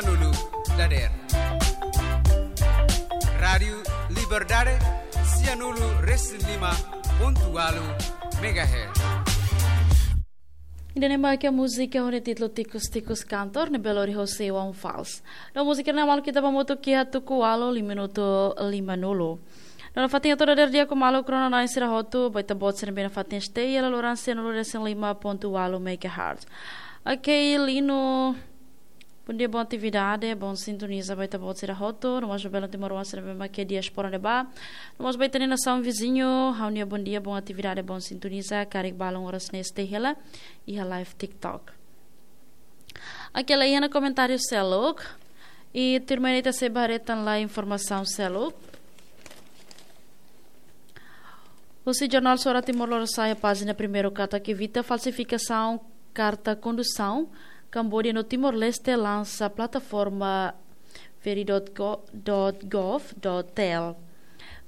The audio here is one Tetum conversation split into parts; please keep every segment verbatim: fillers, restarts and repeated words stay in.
Nulu dader. Rádiu Liberdade, sianulu resin lima pontu walu megahertz. Ida-ne'e mak múzika ho nia títulu Tikus Tikus Kantor, ne'ebé lori hosi One Falls. No múzika ne'e maluk ita ba hamutuk iha tuku ualu lima minutu lima nulu. No nafatin atu dader di'ak ho maluk rona-na'in sira hotu, ba ita-boot sira ne'ebé nafatin S T I L loran sianulu resin lima pontu walu megahertz. Ok, Lino. Bondia, bon atividade, bon sintoniza ba ita-boot sira hotu, no mós ba belun timoroan sira ne'ebé mak iha diáspora ne'ebá, no mós ba ita-nia nasaun viziñu, ha'u-nia bondia, bon atividade, bon sintoniza, karik balun oras ne'e S T I L iha live TikTok. Oke, la iha ona komentáriu seluk, i tuirmai ne'e ita sei ba haree tan lai informasaun seluk. Husi jornál Suara Timor Lorosa'e pájina primeiru katak evita falsifikasaun karta kondusaun, Kambodia no Timor-Leste lansa plataforma veri dot gov dot tel.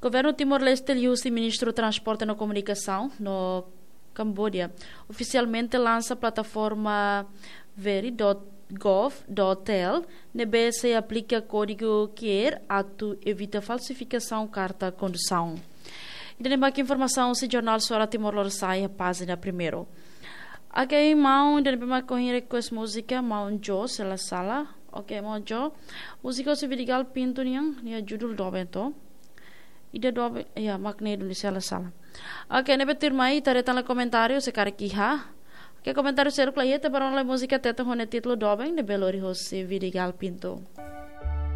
Governu Timor-Leste liuhusi Ministru Transporte no Komunikasaun no Kambodia ofisialmente lansa plataforma veri dot gov dot tel, ne'ebé sei aplika kódigu QR atu evita falsifikasaun karta kondusaun. Ida-ne'e mak informasaun husi jornál Suara Timor Lorosa'e iha pájina primeiru. Oke, maun, ida-ne'ebé mak ohin request múzika, maun Jo, se la sala. Oke, maun Jo. Múzika husi Vidigal Pinto nian, nia judul doben to. Ida doben, ya, mak ne'e duni, se la sala. Oke, ne'ebé tuirmai, ita haree tan lai komentáriu, se karik iha. Oke, komentáriu seluk la iha, ita ba rona lai múzika Tetun ho nia títulu doben, ne'ebé lori hosi Vidigal Pinto.